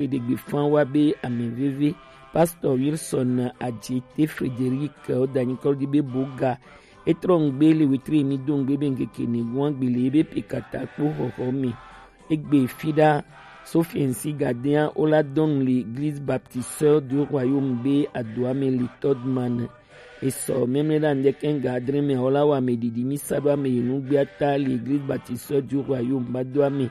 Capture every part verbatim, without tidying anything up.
Eɖegbe fan wa be ameveve. Pastor Wilson Adjete Frederic, o danyi kɔ di be boga. Etrɔ ŋgbe le wetri mi do ŋgbe be ŋkeke ne guan gbele be pe kata kpo xɔxɔ mi. Egbe fida Sofiensi gadea o la dɔn le Église Baptiste du Royaume be adoa me le Todman. Esɔ memle la ndeke ŋga adre me o la wa me didi mi sa do ame yenu gbea ta le Église Baptiste du Royaume ba do ame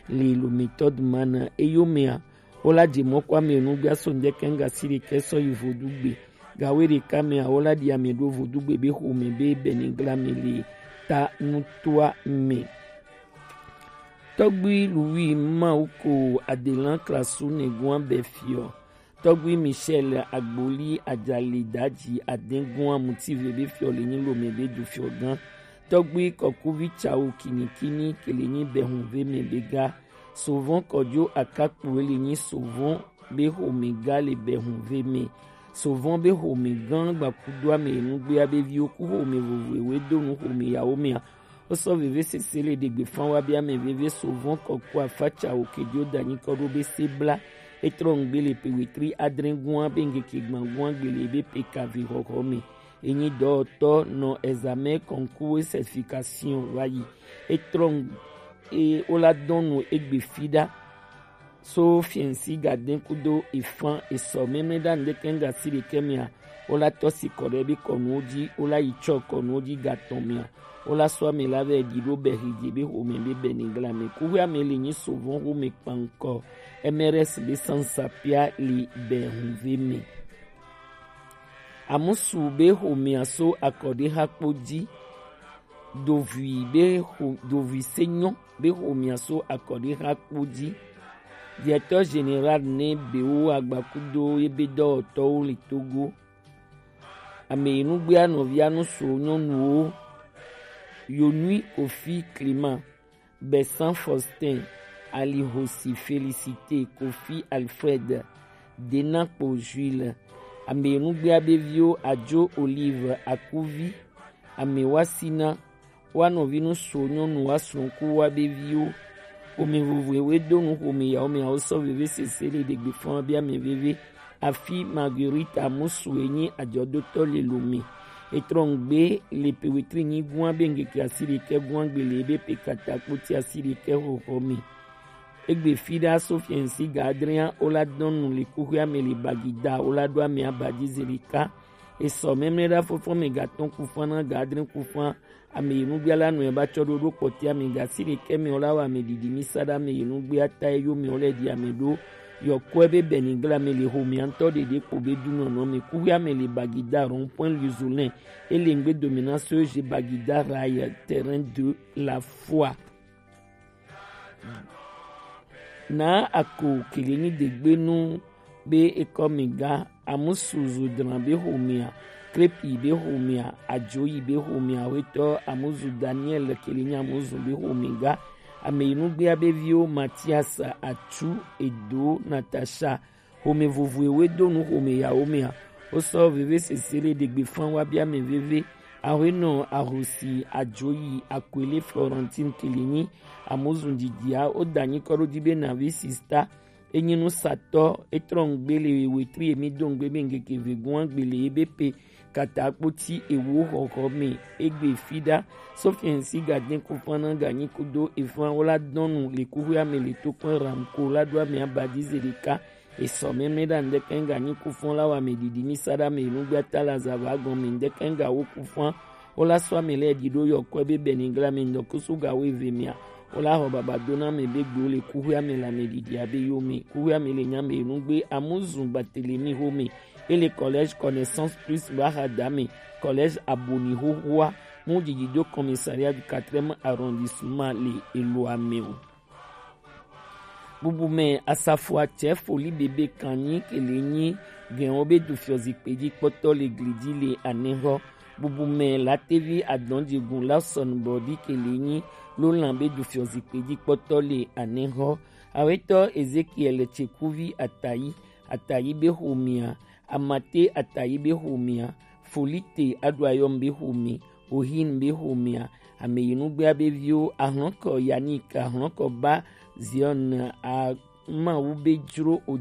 le lo me Todman. Eyo mea o la je mɔ kɔ ame yenu gbea so ndeke ŋga si ɖekɛ sɔ yi vodugbe. Gawe ɖeka mea o la ɖi ame ɖo vodugbe be xome be bɛnigla me le ta nutoa me. Tɔgbui Louis Mawu ko adelan klasu negun abɛ fiɔ. Tɔgbui Michel Agboli Ajali Daji Adengun Amutive be fiɔ le nyi lome be du fiɔ gan. Tɔgbui Kɔkuvi Tsawo Kinikini ke le nyi bɛhunve me be ga. Sovɔn Kɔjo Akakpo le nyi sovɔn be xome ga le bɛhunve me. Sovɔn be xome gan gbakudo ame nugbea be viwo ku xome vovo ewe do nu xome yawo mea. Wo sɔ veve sese le ɖegbe fan wa be ame veve Sovɔn Kɔkɔ Afa Tsawo Kejo danyi kɔ ɖo be se bla. Etrɔ ŋgbe le pe wetri adre gua be ŋkeke gban gua gbele be pe kavi xɔxɔ me. Enyi dɔwɔtɔ nɔ examen concours certification wa yi. Etrɔ ŋ-, e, o la dɔn nu egbe fi ɖa. So fiɛnsi gaden kudo efan esɔ mɛmɛ ɖa ŋdɛkɛ ŋga si ɖekɛ mia. O la tɔ si kɔ ɖe be kɔnuwo ji, o la yi tsɔ kɔnuwo ji gatɔn mia. O la sɔ ame la vɛ ɖi ɖo bɛ hidze be xome be bɛ ni gla me. Kuxwe ame le nyi sovɔn xome kpankɔ. M R S be sansa pia li bɛ hunve me. Amusu be xomea so akɔɖexa kpo ji. Dovui be xo-, dovui senyɔ be xomea so akɔɖexa kpo ji. Directeur général ne bewo agbakudo ebe dɔwɔtɔwo le Togo. Ame yi nugbea nɔvia nusu nyɔnuwo. Yonui Kofi Clément. Bessan Faustin, Alihosi Félicité, Kofi Alfred, Denakpo Jules, ame nugbea be viwo Adzo Olive Akuvi, ame wasina, wa nɔvi nusu nyɔnu wa srɔ̃ku wa be viwo. Xome vovoe we do nu xome yawo me awo sɔ veve sese le ɖegbe fɔn bi ame veve. Afi Marguerite Amusu enyi ajɔdotɔ le Lome. Etrɔ ŋgbe le pe wetri nyi gua be ŋkeke asi ɖekɛ gua gbe le ebe pe kata kpoti asi ɖekɛ xɔxɔ me. Egbe fi ɖa so fiɛnsi ga adrea o la dɔn nu le kuxia me le Bagida o la ɖo ame abadzi ze ɖeka. Esɔ mɛmlɛ ɖa fɔfɔ me gatɔn kufan na ga adre kufan. Ame yi nugbea la nɔe ba tsɔ ɖo ɖo kpɔtia mi gasi ɖekɛ mi o la wa ame ɖiɖi mi sa ɖe ame yi nugbea ta eyo mi o le ɖi ame ɖo. Yɔkɔe be bɛnigla mi le xomea ŋutɔ ɖeɖe kpo be dunɔnɔ mi kuxia mi le Bagida rond-point Luzolin. Ele ŋgbe domination je Bagida rail terrain de la foi. Na ako kele nyi degbenu be ekɔ mi ga Amusu Zudran be xomea, Krepi be xomea, Adzoyi be xomea, wetɔ Amuzu Daniel kele nyi Amuzu be xome ga. Ame yi nugbea be viwo Matias, Atsu, Edo, Natasha, xome vovoe we do nu xome yawo mea. Wo sɔ veve sese le ɖegbe fan wa bia me veve. Ahwenɔ Ahosi Adzoyi Akwele Florentine kele nyi Amuzu didia o da nyi kɔ ɖo di be navi sista. Enyi nusatɔ etrɔ ŋgbe le wetri emi do ŋgbe be ŋkeke vegun agbe le ebe pe kata kpoti ewo xɔxɔ me egbe fi ɖa. Sofiɛnsi gaden kufana ganyi kudo efan wo la dɔnu le kuxia me le tokpɔn ramko la ɖo ame abadi ze ɖeka. Esɔ mɛmlɛ ɖa ŋdɛkɛ ŋga nyi kufɔn la wa me ɖiɖi mi sa ɖe ame nugbea ta la zava gɔn me ŋdɛkɛ ŋga wo kufɔn. Wo la sɔ ame lɛ ɖi ɖo yɔkɔe be bɛnigla me ŋdɔkusu ga wo eve mea. Wo la xɔ baba do na ame be gbe wo le kuxia me le ame ɖiɖi abe yo me. Kuxia me le nya me nugbe Amuzu Batelemi xome. Ele collège Connaissance Plus ba xa da me. Collège Aboni xoxoa. Mu didi do commissariat du quatrième arrondissement le elo ame o. Bubumɛ asafo atsɛ foli bebe kanyi kele nyi gɛnwo be du fiɔ zikpe ji kpɔtɔ le gli ji le anɛxɔ. Bubumɛ latevi adɔnjegun Lawson Bɔdi kele nyi lolan be du fiɔ zikpe ji kpɔtɔ le anɛxɔ. Awetɔ Ezekiel Tsekuvi Atayi, Atayi be xomea, Amate Atayi be xomea, Folite Aɖuayɔm be xome, Ohin be xomea, ame yi nugbea be viwo, ahlɔnkɔ Yannick, ahlɔnkɔ ba Zion, a Mawu be jro o